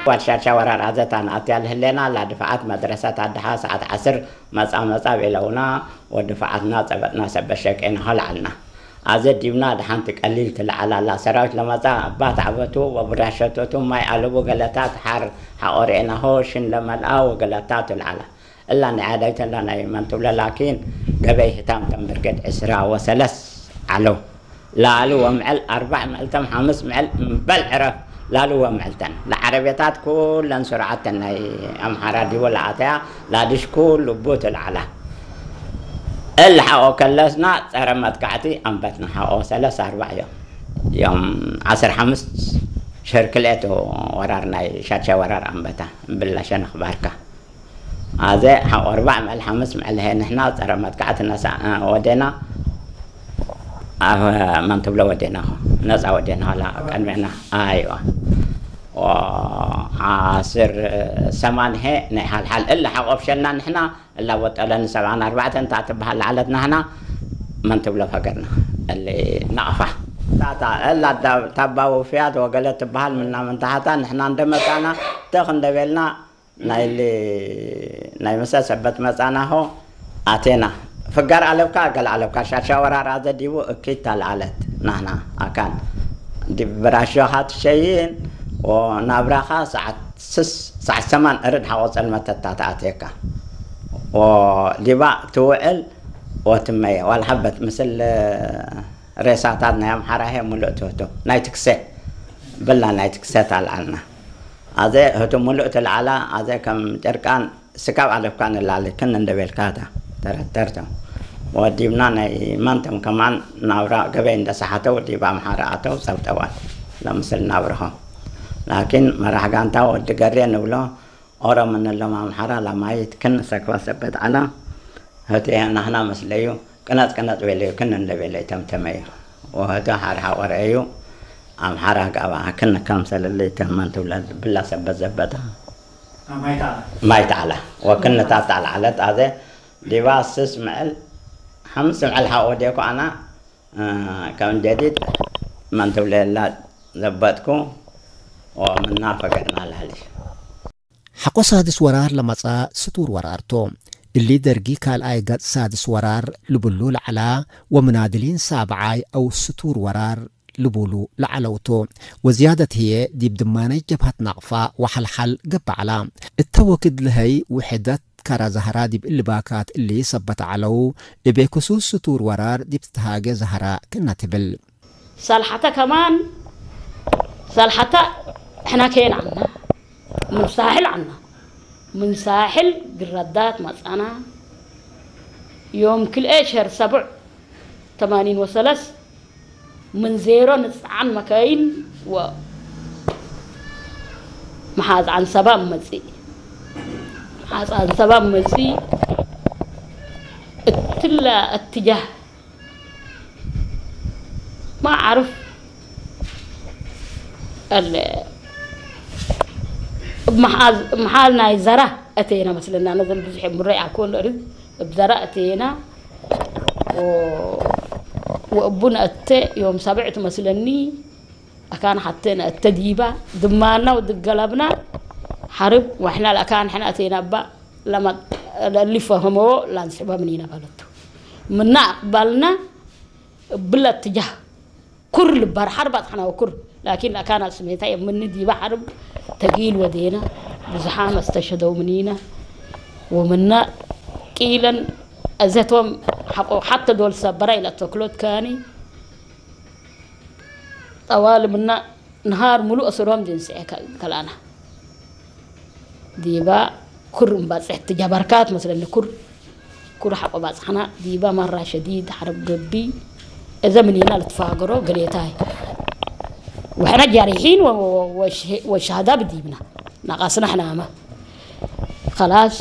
ዋድሻሻ ወራር ኣዘታ ንኣትያ ልህሌና ላድፍዓት መድረሰት ኣድሓ ሰዓት ዓስር መጻ መጻ ቤለውና ወድፍዓትና ጸበጥና ሰበሸቄና ኸልዓልና። ኣዘ ዲብና ድሓንቲ ቀሊል ትልዓል ኣላ። ሰራዊት ለመጻ ኣባት ዓበቱ ወብራሸቶቱ ማይ ኣለቡ ገለታት ሓር ሓቆሬናሆ ሽን ለመልኣ ወገለታ ትልዓላ። እላ ናይ ዓዳይተላ ናይ መንትብለ ላኪን ገበይ ህታም ተንብርገድ ዕስራ ወሰለስ ዓለው። ላሉ ወምዕል ኣርባዕ ምዕልተም ሓምስ ምዕል እምበል ዕረፍ ላሉ ወምዕልተን ለዓረቤታት ኩለን ስርዓተን ናይ ኣምሓራ ዲወ ለኣተያ ላድሽ ኩሉ ቡት ልዓላ። እል ሓቆ ከለስና ጸረ መጥቃዕቲ ኣንበትና ሓቆ ሰለስ ኣርባዕ እዮም። እዮም ዓስር ሓምስ ሽር ክልኤት ወራር ናይ ሻቻ ወራር ኣንበታ ብላሸ ንኽባርካ። ኣዘ ሓቆ ኣርባዕ ምዕል ሓምስ ምዕል ሀ ንሕና ጸረ መጥቃዕቲ ነሳ ወዴና ኣብ መን ትብሎ ወዴና ነጻ ወዴና ላ ቀድሜና ኣይዋ ዓስር ሰማንሄ ናይ ሓልሓል እላ ሓቆ ብሸልና ንሕና እላ ወጠለን ሰብዓን ኣርባዕተን እታ ትበሃል ለዓለት ናህና መን ትብሎ ፈገርና እሊ ናቕፋ ታታ እላ ታባ ውፍያት ወገለ ትበሃል ምና ምንታሓታ ንሕና እንደመጻና ተኽ እንደቤልና ናይሊ ናይ ምሰ ሰበት መጻናሆ ኣቴና ፍጋር ኣለብካ ገለ ኣለብካ ሻሻ ወራራ ዘዲቡ እኪት ታልዓለት ናህና ኣካን ዲብ ብራሾኻ ትሸይን ወናብራኻ ሰዓት ስስ ሰዓት ሰማን እርድ ሓቆ ጸልመተታ ተኣትየካ ወዲባ ትውዕል ወትመየ ዋላ ሓበት ምስል ሬሳታት ናይ ኣምሓራ ሄ ሙሉእ ትህቱ ናይ ትክሰ ብላ ናይ ትክሰ ታልዓልና ኣዘ ህቱ ሙሉእ ትልዓላ ኣዘ ከም ጨርቃን ስካብ ኣለፍካ ንላሊ ክን እንደቤልካታ ተረተርቶ ወዲብና ናይ ማንተም ከማን ናብራ ገበይ እንደሰሓተው ዲብ ኣምሓራ ኣተው ጸብጠዋል ለምስል ናብርሆ ላኪን መራሕ ጋንታ ወዲ ገሬ ንብሎ ኦሮም እንሎም ኣምሓራ ላማይት ክን ሰክባ ሰበት ዓላ ህቴ ናህና መስለዩ ቅነጽ ቅነጽ ቤለዩ ክን እንደቤለ ተምተመዩ ወህተ ሓርሓ ወረአዩ ኣምሓራ ጋባ ክን ከምሰለለይ ተመን ትብለ ብላ ሰበት ዘበታ ማይ ተዓላ ወክን ታታ ለዓለት ኣዘ ዲባ ስስ ምዕል ሓምስ ምዕል ሓወዴኩ ኣና ከም ጀዲድ መን ትብለላ ዘበጥኩ ወምና ፈገርና ላሊ ሓቆ ሳድስ ወራር ለመጻ ስቱር ወራርቶ እሊ ደርጊ ካልኣይ ገጽ ሳድስ ወራር ልብሉ ለዓላ ወምናድሊን ሳብዓይ ኣው ስቱር ወራር ልቡሉ ለዓለውቶ ወዝያደት ህየ ዲብ ድማነይ ጀብሃት ናቕፋ ወሓልሓል ገብዓላ እተ ወክድ ለሀይ ውሕደት ካራ ዛህራ ዲብ እሊ ባካት እሊ ሰበት ዓለው እቤ ክሱስ ስቱር ወራር ዲብ ትትሃገ ዛህራ ክና ትብል። ሳልሓታ ከማን ሳልሓታ ሕና ከየን ዓና ምን ሳሕል ዓና ምን ሳሕል ግረዳት መጻና ዮም ክልኤ ሸር ሰቡዕ ተማኒን ወሰለስ ምን ዜሮ ንጽዓን መካይን ወ መሓዝ ዓንሰባ መጺእ መሓዝ ዓንሰባ መጺእ እትላ እትጃህ ማዓርፍ ኣለ መሓል ናይ ዘራ እተየና መስለና ነዘን ብዙሕ ምረይ ኣኮን ርዝ እብ ዘራ እተየና ወእቡ ነእተ ዮም ሰብዕ ትመስለኒ ኣካን ሓተ ነእተ ዲባ ድማና ወድገለብና ሓርብ ዋሕና ለኣካን ሕና እተየና እባ ለማ ለሊፈ ህመዎ ላንስሕባ ምኒና ባለቱ ምና ኣቅባልና እብለ እትጃህ ኩር ልባር ሓርብ ኣጥሓና ወኩር ላኪን ኣካና ስሜታ የምኒ ዲባ ሓርብ ተጊል ወዴና ብዙሓ መስተሸደው ምኒና ወምና ቂለን እዘቶም ሓቆ ሓተ ዶል ሰበራ ኢለ ተክሎት ካኒ ጠዋል ምና ንሃር ሙሉእ እስሮም ድንስዐ ከልኣና ዲባ ኩር እምባጽሕ ትጃባርካት መስለኒ ኩር ኩር ሓቆ ባጽሕና ዲባ ማራ ሸዲድ ሓረብ ገቢ እዘ ምኒና ልትፋገሮ ገሌታይ ወሕና ጃሪሒን ወሻሃዳ ብዲብና ናቃስና ሕናማ خلاص